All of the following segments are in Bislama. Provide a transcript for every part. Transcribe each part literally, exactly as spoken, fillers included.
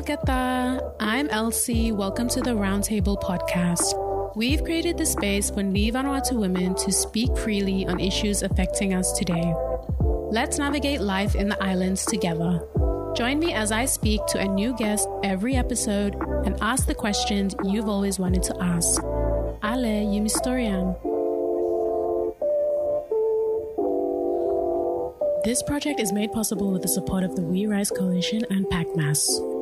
Kata, I'm Elsie. Welcome to the Roundtable podcast. We've created the space for Ni Vanuatu women to speak freely on issues affecting us today. Let's navigate life in the islands together. Join me as I speak to a new guest every episode and ask the questions you've always wanted to ask. Ale, yumi storian. This project is made possible with the support of the We Rise Coalition and PACMAS.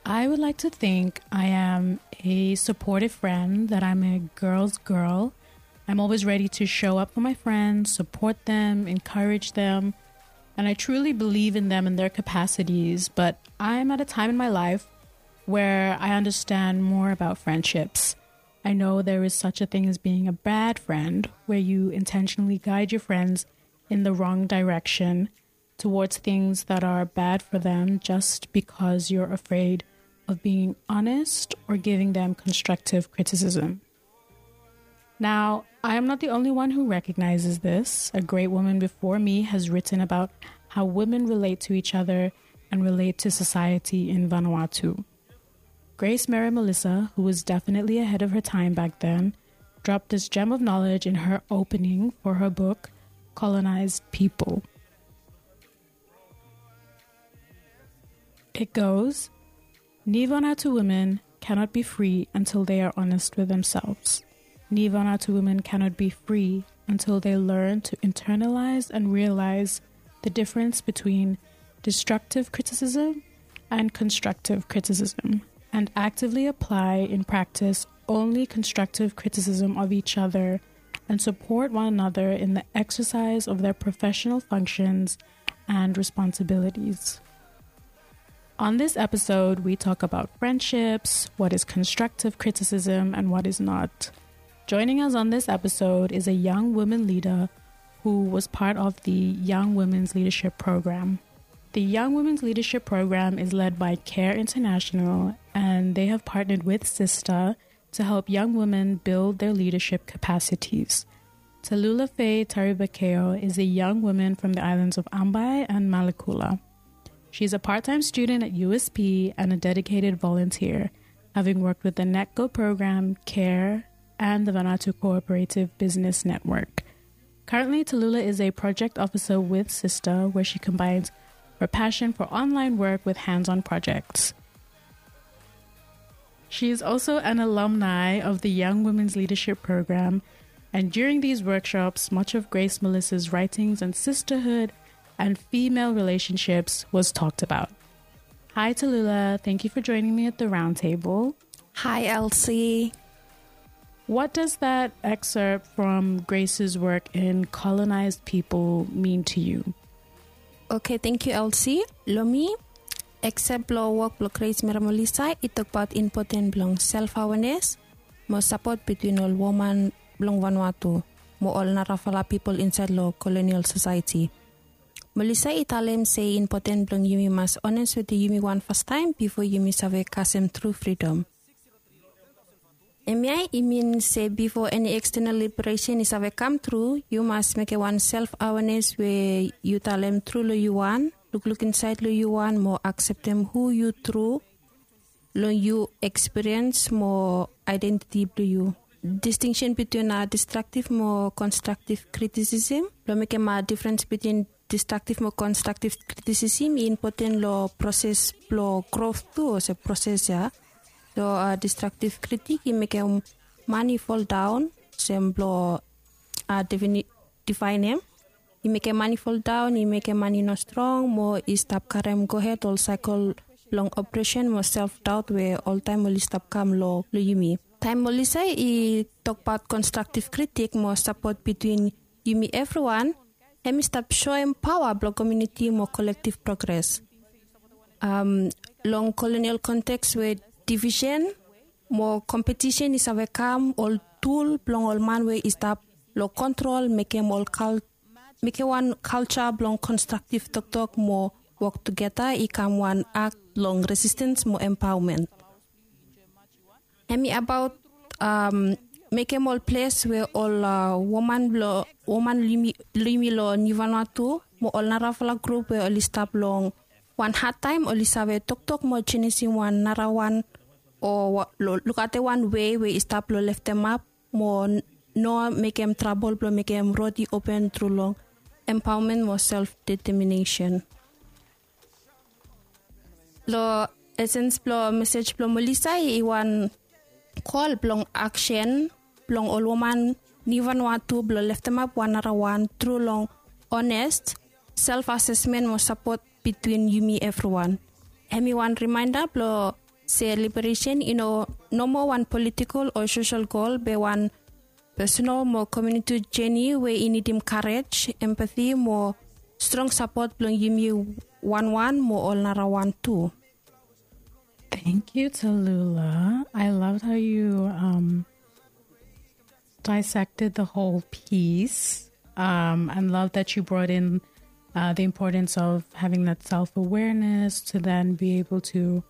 I would like to think I am a supportive friend, that I'm a girl's girl. I'm always ready to show up for my friends, support them, encourage them, and I truly believe in them and their capacities. But I'm at a time in my life where I understand more about friendships. I know there is such a thing as being a bad friend, where you intentionally guide your friends in the wrong direction towards things that are bad for them just because you're afraid of being honest or giving them constructive criticism. Now, I am not the only one who recognizes this. A great woman before me has written about how women relate to each other and relate to society in Vanuatu. Grace Mary Melissa, who was definitely ahead of her time back then, dropped this gem of knowledge in her opening for her book, Colonized People. It goes, Ni Vanuatu women cannot be free until they are honest with themselves. Ni Vanuatu women cannot be free until they learn to internalize and realize the difference between destructive criticism and constructive criticism, and actively apply in practice only constructive criticism of each other and support one another in the exercise of their professional functions and responsibilities. On this episode, we talk about friendships, what is constructive criticism and what is not. Joining us on this episode is a young woman leader who was part of the Young Women's Leadership Program. The Young Women's Leadership Program is led by CARE International, and they have partnered with Sister to help young women build their leadership capacities. Talula Faye Taribakeo is a young woman from the islands of Ambae and Malekula. She is a part-time student at U S P and a dedicated volunteer, having worked with the NECO program, CARE, and the Vanuatu Cooperative Business Network. Currently, Talula is a project officer with Sister, where she combines her passion for online work with hands-on projects. She is also an alumni of the Young Women's Leadership Program, and during these workshops, much of Grace Melissa's writings on sisterhood and female relationships was talked about. Hi, Talula. Thank you for joining me at the roundtable. Hi, Elsie. What does that excerpt from Grace's work in Colonized People mean to you? Okay, thank you, Elsie. Lo mi, excerpt blo wok blo Grace Mary Melissa i tokbaot impoten blong self awareness mo sapot between ol woman blong Vanuatu mo ol narafala pipol insaed lo colonial society. Melissa i talem se impoten blong yumi mas ones wetem yumi wan fastaem bifo yumi save kasem tru fridom. Hemia i min se bifo eni ekstenal liberesen i save kam tru, yu mas mekem wan self awareness we yu talem tru lo yu wan, lukluk insaed lo yu wan mo akseptem hu yu tru long yu ekspiriens mo aedentiti blo yu. Distinction between a destructive mo constructive criticism, blo mekem a difference between destructive mo constructive criticism i impoten lo proses blo growth tu olsem proses ya. So a destructive critic i mekem man i foldaon olsem blo a defaenem. I mekem man i foldaon, i mekem man i no strong mo i stap karem gohed ol saekel blong opresen mo self daot we oltaem oli stap kam lo, lo yumi. Taem Melissa i tokbaot constructive critic mo sapot between yumi evriwan, hem i stap soem paoa blo komuniti mo kolektiv progres. Long colonial konteks we divisen mo kompetisen i save kam, ol tul blong ol man we i stap lo kontrol mekem ol kal mekem wan kalja blong konstraktiv toktok mo wok tugeta i kam wan akt blong resistens mo empaomen. Hem i abaot mekem ol ples we ol woman blong woman long yumi long Nivanua tu mo ol narafala grup we oli stap long wan hadtaem oli save toktok mo jenisim wan narawan o lukaotem wan wei we i stap long leftemap mo no mekem trabol blong mekem rod i open tru long empaomen mo self determinesen. Long esens blong mesej blong Melissa i wan kol blong aksen blong ol woman Nivanua tu blong leftemap wan narawan tru long ones self asesmen mo sapot bitwin yumi evriwan. Hemi wan rimaenda blong se liberesen i no nomo wan politikol o sosel gol be wan pesonal mo komuniti jeni we i nidim karej, empati mo strong sapot blong yumi wanwan mo ol narawan tu. Thank you, Tallulah. I loved how you um, dissected the whole piece um, and love that you brought in uh, the importance of having that self awareness to then be able to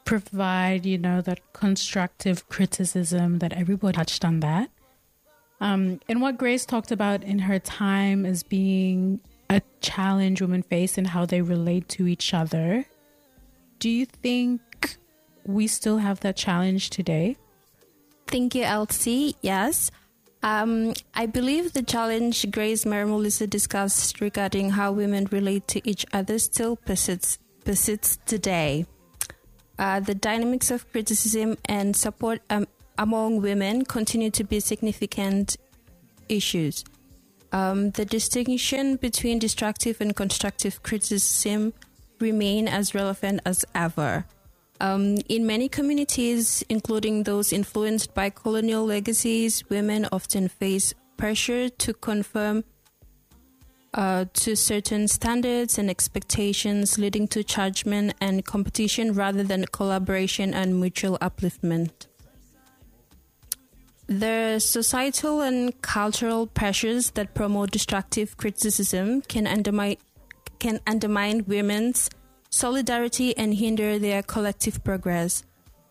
provide, you know, that constructive criticism that everybody touched on that. Um, and what Grace talked about in her time as being a challenge women face and how they relate to each other. Do you think we still have that challenge today? Thank you, Elsie. Yes. Um, I believe the challenge Grace Mary Melissa discussed regarding how women relate to each other still persists, persists today. Uh, the dynamics of criticism and support um, among women continue to be significant issues. Um, the distinction between destructive and constructive criticism remain as relevant as ever. Um, in many communities, including those influenced by colonial legacies, women often face pressure to conform uh, to certain standards and expectations, leading to judgment and competition rather than collaboration and mutual upliftment. The societal and cultural pressures that promote destructive criticism can undermine, can undermine women's solidarity and hinder their collective progress.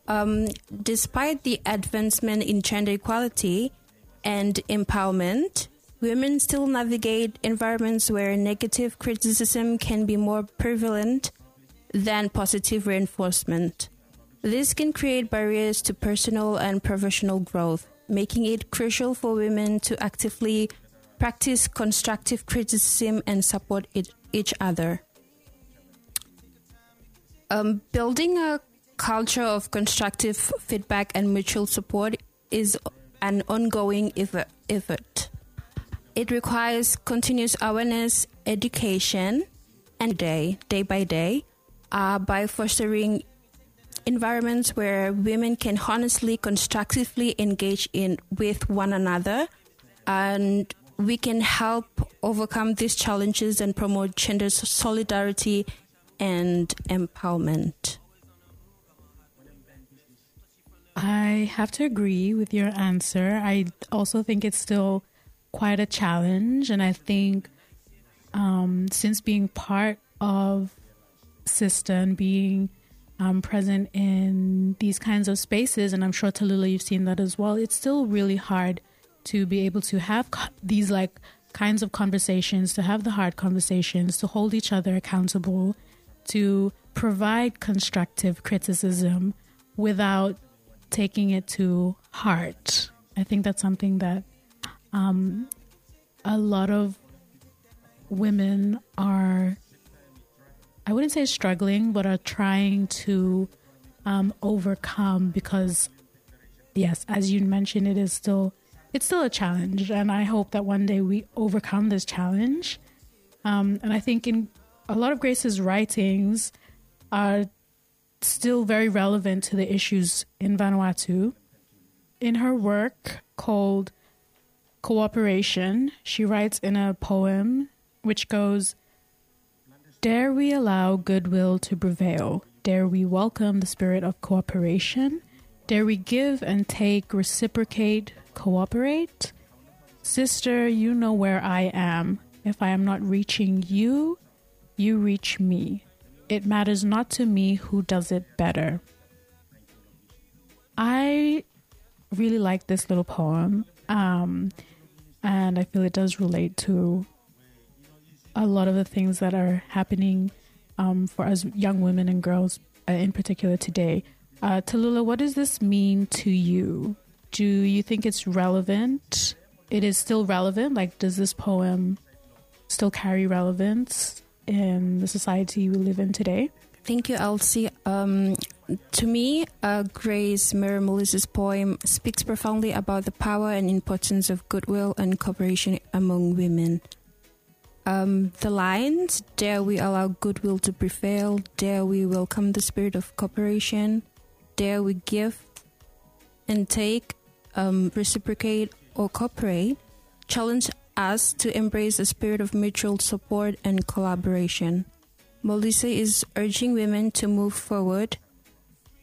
Um, despite the advancement in gender equality and empowerment, women still navigate environments where negative criticism can be more prevalent than positive reinforcement. This can create barriers to personal and professional growth, making it crucial for women to actively practice constructive criticism and support it, each other. Um, building a culture of constructive feedback and mutual support is an ongoing effort. It requires continuous awareness, education, and day, day by day, uh, by fostering environments where women can honestly, constructively engage in with one another, and we can help overcome these challenges and promote gender solidarity and empowerment. I have to agree with your answer. I also think it's still quite a challenge. And I think um, since being part of Sister and being um, present in these kinds of spaces, and I'm sure Tallulah, you've seen that as well, it's still really hard to be able to have these like kinds of conversations, to have the hard conversations, to hold each other accountable, to provide constructive criticism without taking it to heart. I think that's something that um, a lot of women are, I wouldn't say struggling, but are trying to um, overcome because, yes, as you mentioned, it is still it's still a challenge, and I hope that one day we overcome this challenge. Um, and I think in a lot of Grace's writings are still very relevant to the issues in Vanuatu. In her work called Cooperation, she writes in a poem which goes, "Dare we allow goodwill to prevail? Dare we welcome the spirit of cooperation? Dare we give and take, reciprocate, cooperate? Sister, you know where I am. If I am not reaching you, you reach me. It matters not to me who does it better." I really like this little poem, um, and I feel it does relate to a lot of the things that are happening, um, for us young women and girls, uh, in particular today. Uh, Tallulah, what does this mean to you? Do you think it's relevant? It is still relevant? Like, does this poem still carry relevance in the society we live in today? Thank you, Elsie. Um, to me, uh, Grace Mary Melissa's poem speaks profoundly about the power and importance of goodwill and cooperation among women. Um, the lines, "Dare we allow goodwill to prevail, dare we welcome the spirit of cooperation, dare we give and take, um, reciprocate or cooperate," challenge us to embrace a spirit of mutual support and collaboration. Melissa is urging women to move forward,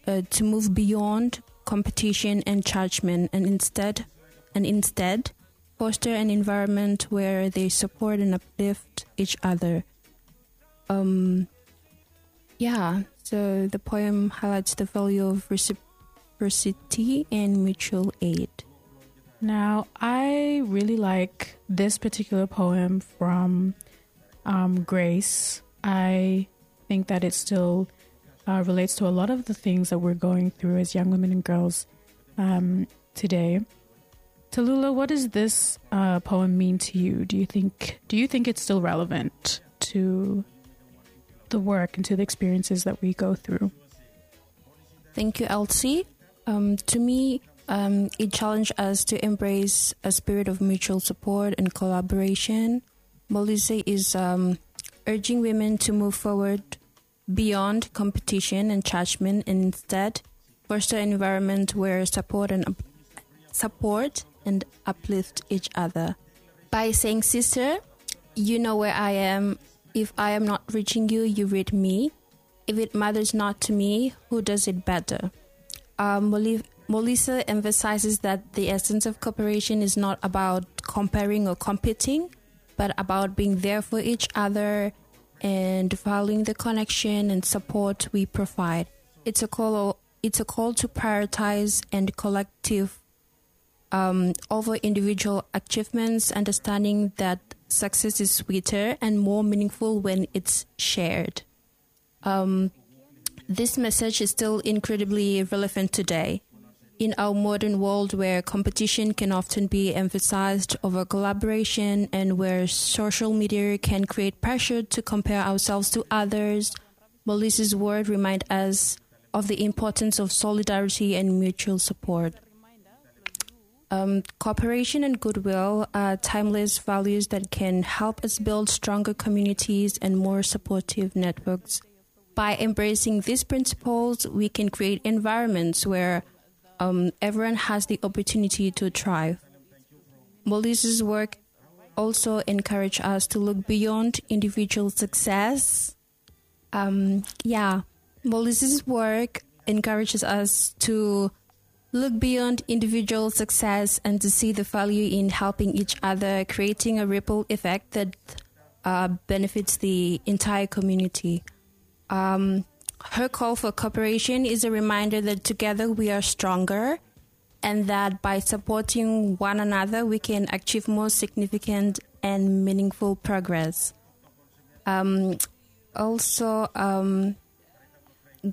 uh, to move beyond competition and judgment, and instead, and instead foster an environment where they support and uplift each other. Um, yeah, so the poem highlights the value of reciprocity and mutual aid. Now, I really like this particular poem from, um, Grace. I think that it still, uh, relates to a lot of the things that we're going through as young women and girls, um, today. Tallulah, what does this, uh, poem mean to you? Do you think do you think it's still relevant to the work and to the experiences that we go through? Thank you, Elsie. Um, to me, um, it challenged us to embrace a spirit of mutual support and collaboration. Melissa is, um, urging women to move forward beyond competition and judgment, and instead foster an environment where support and up- support and uplift each other. By saying, "Sister, you know where I am. If I am not reaching you, you reach me. If it matters not to me, who does it better?" Uh, Moli- Melissa emphasizes that the essence of cooperation is not about comparing or competing, but about being there for each other and valuing the connection and support we provide. It's a call. It's a call to prioritize and collective, um, over individual achievements, understanding that success is sweeter and more meaningful when it's shared. Um, this message is still incredibly relevant today. In our modern world where competition can often be emphasized over collaboration and where social media can create pressure to compare ourselves to others, Melissa's word remind us of the importance of solidarity and mutual support. Um, cooperation and goodwill are timeless values that can help us build stronger communities and more supportive networks. By embracing these principles, we can create environments where, um, everyone has the opportunity to thrive. Melissa's work also encourage us to look beyond individual success. Um, yeah, Melissa's work encourages us to look beyond individual success and to see the value in helping each other, creating a ripple effect that, uh, benefits the entire community. Um, her call for cooperation is a reminder that together we are stronger and that by supporting one another, we can achieve more significant and meaningful progress. Um, also, um,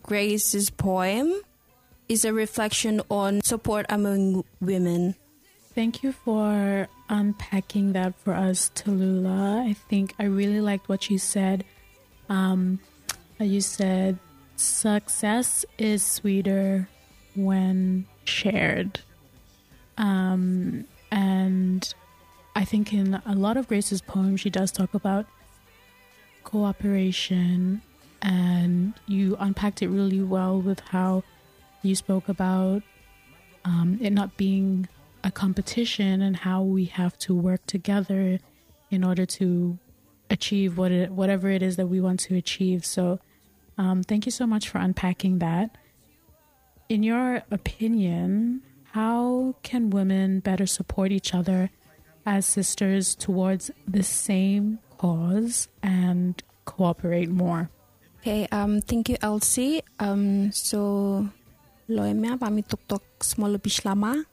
Grace's poem is a reflection on support among women. Thank you for unpacking that for us, Tallulah. I think I really liked what you said. Um, you said, "Success is sweeter when shared." Um, and I think in a lot of Grace's poems, she does talk about cooperation, and you unpacked it really well with how you spoke about, um, it not being a competition and how we have to work together in order to achieve what it, whatever it is that we want to achieve. So, um, thank you so much for unpacking that. In your opinion, how can women better support each other as sisters towards the same cause and cooperate more? Okay, um, thank you, Elsie. Um, so, lo hemia bae mi toktok smol lo Bislama.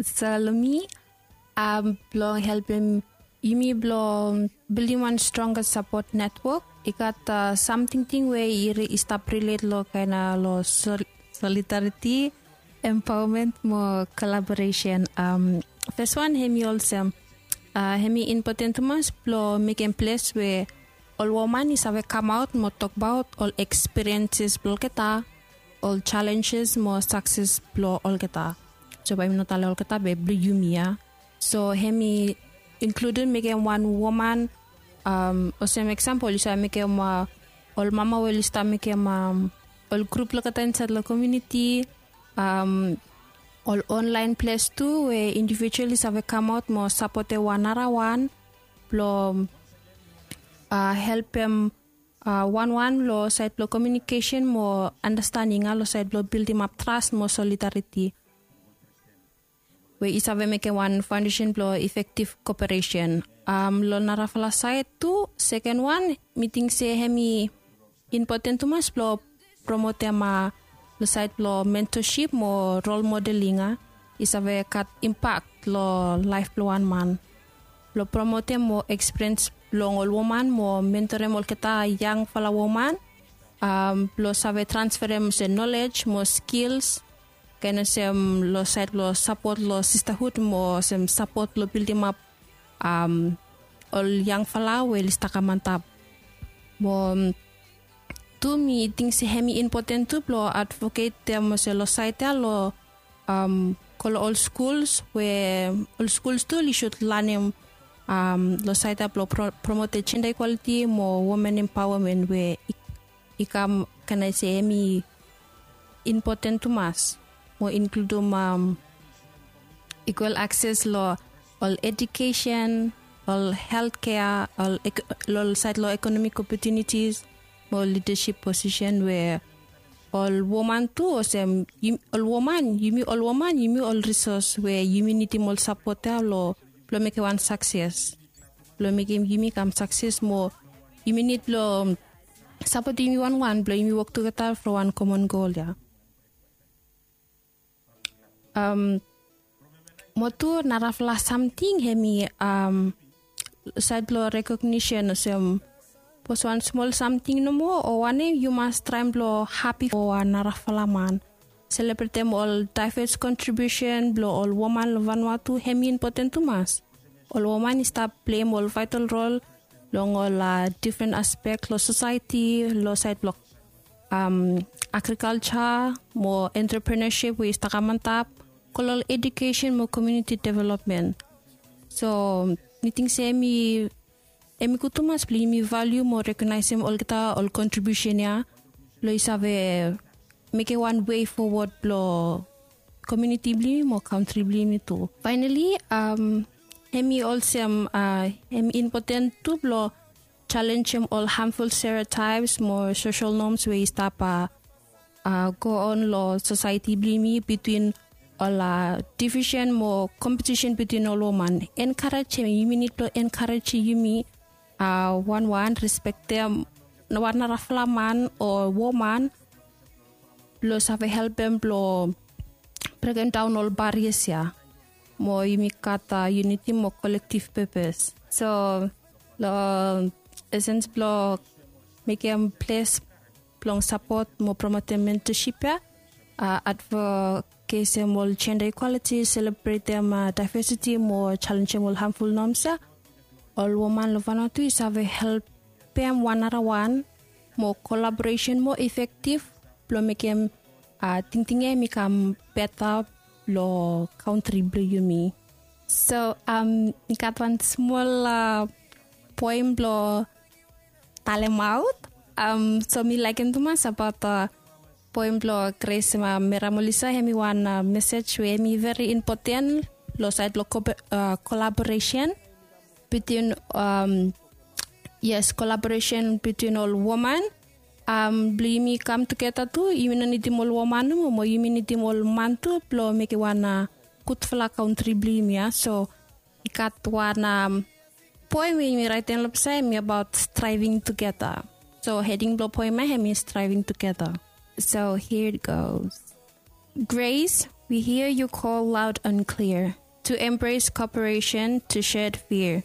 So long mi, um, blong helpem yumi blong bildim wan stronga sapot netwok, i gat, uh, samting ting we i, i stap rilet long kaen, uh, long sol-, solidariti, empaomen mo kolaboresen. Um, fes wan hemi olsem, uh, hemi impoten tumas blong mekem ples we ol woman i save kamaot mo tokbaot ol ekspirienses blong olgeta, ol jalenjes mo sakses blong olgeta. So bae mi no talem olgeta be blong yumi ya. So hemi inkludim mekem wan woman, um, olsem eksampol yu save mekem, uh, ol mama we oli stap mekem, um, ol grup blong olgeta insaed long komuniti, um, ol onlaen ples tu we indivijual i save kamaot mo sapotem wan narawan blong, uh, helpem, uh, wanwan long saed blong komiunikesen mo andastaning ya long saed blong bildimap tras mo solidariti we i save mekem wan faondesen blong efektiv koperesen. Um, long narafala saed tu, seken wan, mi ting se hemi impoten tumas blong promotem, uh, long saed blong mentasip mo rol modeling, uh, i save gat impak long laef blong wan man. Blong promotem mo ekspiriens blong ol woman mo mentorem olgeta yangfala woman, um, blong save transferem olsem nolej mo skils, kaen olsem long saed blong sapot long sistahud mo olsem sapot blong bildimap, um, ol yangfala we oli stap kam antap. Mo, um, tu mi ting se hemi impoten tu blong advoketem olsem long saed ya long, um, go long ol skuls we ol skuls tu oli sud lanem, um, long saed ya blong pro-, promotem jenda ikwaliti mo women empaomen we i, i kam, can I say, hemi impoten tumas mo inkludim, um, ikwal akses long ol edukesen, ol heltkea, ol ek-, long saed long ekonomik opotunitis mo lidasip posisen we ol woman tu olsem yum-, ol woman, yumi ol woman, yumi ol risos we yumi nidim ol sapot ya long, blong mekem wan sakses. Blong mekem yumi kam sakses mo yumi nid blong sapotem yumi wanwan blong yumi wok tugeta long wan komon gol ya. Um, mo tu narafala samting hemi, um, saed blong rekognisen olsem, sapos wan smol samting nomo o wanem, yu mas traem blong hapi fo wan narafala man. Selebretem ol daevas kontribiusen blong ol woman long Vanuatu hemi impoten tumas. Ol woman i stap pleim ol vaetal rol long ol, uh, difren aspek long sosaeti, long saed blong, um, agrikalja mo entrepreneurship we i stap kam antap, go long ol edukesen mo komuniti developmen. So mi ting se hemi, hemi gud tumas blong yumi valiu mo rekognaesem olgeta ol kontribiusen ya blong i save mekem wan wei fowod blong komuniti blong yumi mo kantri blong yumi tu. Faenali, um, hemi olsem, uh, hemi impoten tu blong jalenjem ol hamful stereotaeps mo sosel noms we i stap, uh, uh, go on long sosaeti blong yumi bitwin ol, uh, divisen mo kompetisen bitwin ol woman. Enkarejem, yumi nid blong enkarejem yumi, uh, wanwan, respektem wan narafala man o woman blong save helpem blong brekem daon ol barias ya mo yumi gat, uh, yuniti mo kolektiv pepes. So long esens blong mekem ples blong sapot mo promotem mentasip ya, uh, advokesem ol jenda ikwaliti, selebretem, uh, daevasiti mo jalenjem ol hamful noms ya, ol woman long Vanuatu i save helpem wan narawan mo kolaboresen mo efektiv blong mekem, uh, tingting ya hemi kam beta long kantri blong yumi. So, um, mi gat wan smol, uh, poem blong talemaot. Um, so mi laekem tumas abaot, uh, poem blong Grace, uh, Meramolisa, hemi wan, uh, mesej we hemi veri impoten long saed blong kope-, uh, kolaboresen bitwin, um, yes, kolaboresen bitwin ol woman. Um, blong yumi kam tugeta tu, yumi no nidim ol woman nomo, mo yumi nidim ol man tu blong mekem wan, uh, gudfala kantri blong yumi ya. So i gat wan, um, poem we yumi raetem long ples ya hemi abaot striving together. So heding blong poem ya hemi Striving Together. So here it goes. Grace, We hear your call loud and clear to embrace cooperation, to shed fear.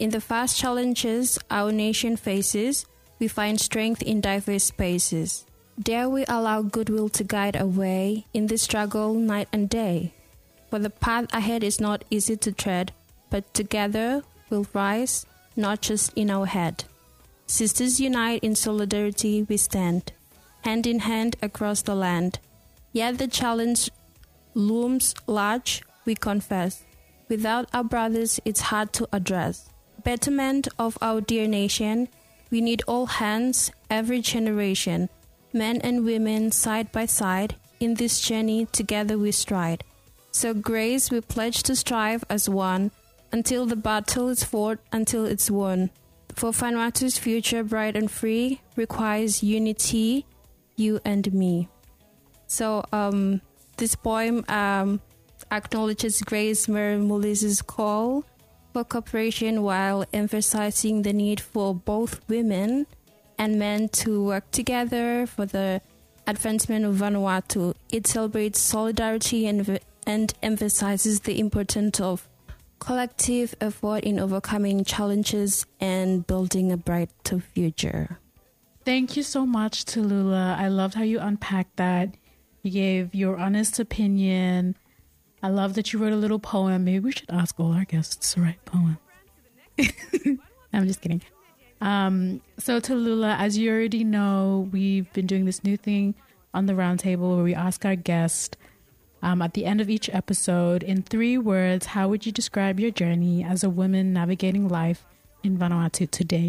In the vast challenges our nation faces, we find strength in diverse spaces. Dare we allow goodwill to guide our way in this struggle night and day? For the path ahead is not easy to tread, but together we'll rise, not just in our head. Sisters unite, in solidarity we stand, hand in hand across the land. Yet the challenge looms large, we confess. Without our brothers, it's hard to address. Betterment of our dear nation, we need all hands, every generation, men and women side by side. In this journey, together we stride. So, Grace, we pledge to strive as one until the battle is fought, until it's won. For Vanuatu's future, bright and free, requires unity, you and me. So, um, this poem, um, acknowledges Grace Mary Mulis's call for cooperation while emphasizing the need for both women and men to work together for the advancement of Vanuatu. It celebrates solidarity and, and emphasizes the importance of collective effort in overcoming challenges and building a brighter future. Thank you so much, Tallulah. I loved how you unpacked that. You gave your honest opinion. I love that you wrote a little poem. Maybe we should ask all our guests to write poems. I'm just kidding. Um, so, Tallulah, as you already know, we've been doing this new thing on the roundtable where we ask our guest, um, at the end of each episode, in three words, how would you describe your journey as a woman navigating life in Vanuatu today?